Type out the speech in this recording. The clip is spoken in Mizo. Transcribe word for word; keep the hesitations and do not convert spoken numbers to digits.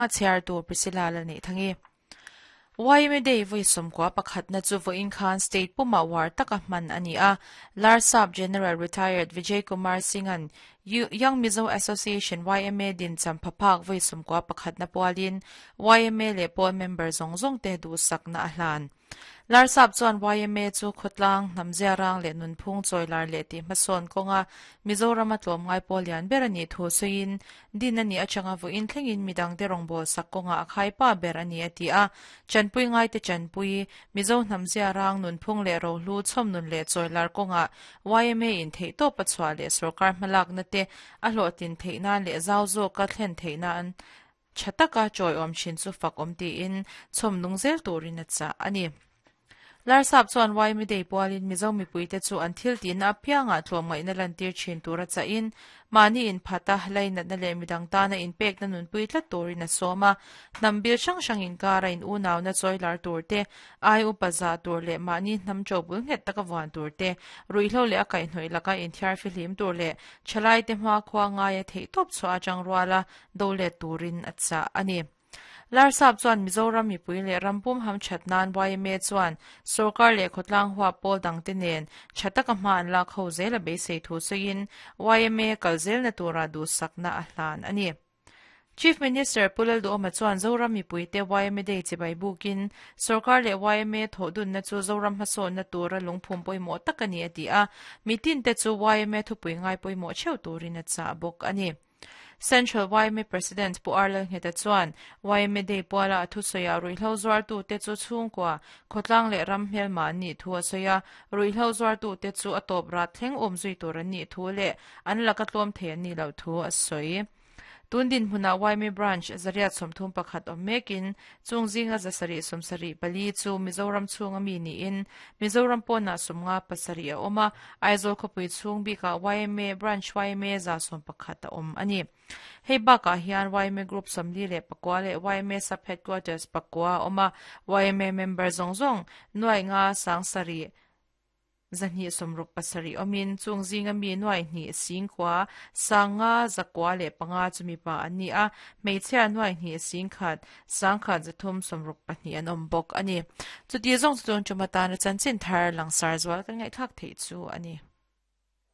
A chhiar tu Priscilla la nei thangi. Y M A Day voi somkwa pakhat na chu vo in khan state puma war taka man ani a Larsap General Retired Vijay Kumar Singhan Young Mizo Association Y M A din cham phaphak voi somkwa pakhat na pualin Y M A le pol member zong zong te du sak na ahlan Larsap chuan Y M A chu khotlang namzia rang le nunphung choilar le ti hmasawn kawnga Mizoram a tlawm ngai pawl lian ber ani thu sawiin din ani atanga vo in thlengin midang te rawngbâwl sak kawnga a khaipa ber ani a ti a chanpui ngai te chanpui Mizo namzia rang nunphung le rohlu chhawm nun le choilar kawnga Y M A in theih tawp a chhuah leh sarkar hmalak na te a hlawhtin theih nan leh zau zawk a thlen theih nan thataka chawi awm thin chu fak awm tiin chhawm nung zel turin a chah ani. Larsap chuan Y M A Day pualin Mizo mipuite chu an thil tina apianga tlawm ngaihna lantir thin tura chahin mani in phata lainat na le midang tana in pek na nunpui tlat turin a sawma hnambil hrang hrang in kara in unaw na chawilar tur te ai upa za tur leh mahni hnam chawbul nghet taka vuan tur te ruihhlo leh a kaihhnawih laka inthiar fihlim tur leh thalai te hma khua ngaia theih tawp chhuah atang ruala do let turin a chah ani. Larsap chuan Mizoram mipui leh rampum ham that nan Y M A chuan sarkar leh khawtlang hua pawl dang te nen thataka hma an lak ho zel a beisei thu sawiin Y M A kal zel na tura du sakna a hlan ani. Chief Minister Pulal Duhoma chuan Zoram mipui te Y M A Day chibai bukin sarkar leh Y M A thawhdun na chu Zoram hmasawn na tura lungphum pawimawh tak ani a ti a mitin te chu Y M A thupui ngai pawimawh theuh turin a chah bawk ani. Central Y M A President Pu Arlal Ngheta chuan Y M A Day puala a thusawi ruihhlo zuartu te chu chhungkua khawtlang leh ram hmelma an nih thu a sawi a ruihhlo zuartu te chu a tawp rat thleng awm zui tur an nih thu leh an laka tlawm thei an nih loh thu a sawi. Tundin hmuna Y M A branch zariat sawmthum pakhat awm mekin chung zinga zasarih sawmsarih pali chu Mizoram chhunga mi niin Mizoram pawna sawmnga pasarih a awm a Aizawl khawpui chhung bikah Y M A branch Y M A za sawm pakhat a awm ani. Hei bakah hian Y M A Group sawmli leh pakua leh Y M A Sub Headquarters pakua a awm a Y M A member zawng zawng nuai nga sangsarih zahnih sawmruk pasarih awmin chung zinga mi nuai hnih singkua sanga zakua leh panga chumi pa an ni a hmeichhia nuai hnih singkhat sangkhat zathum sawmruk pahnih an awm bawk ani. Chuti zawng chu tun chuma tana chanchin thar langsar zual kan ngaihthlak theih chu ani.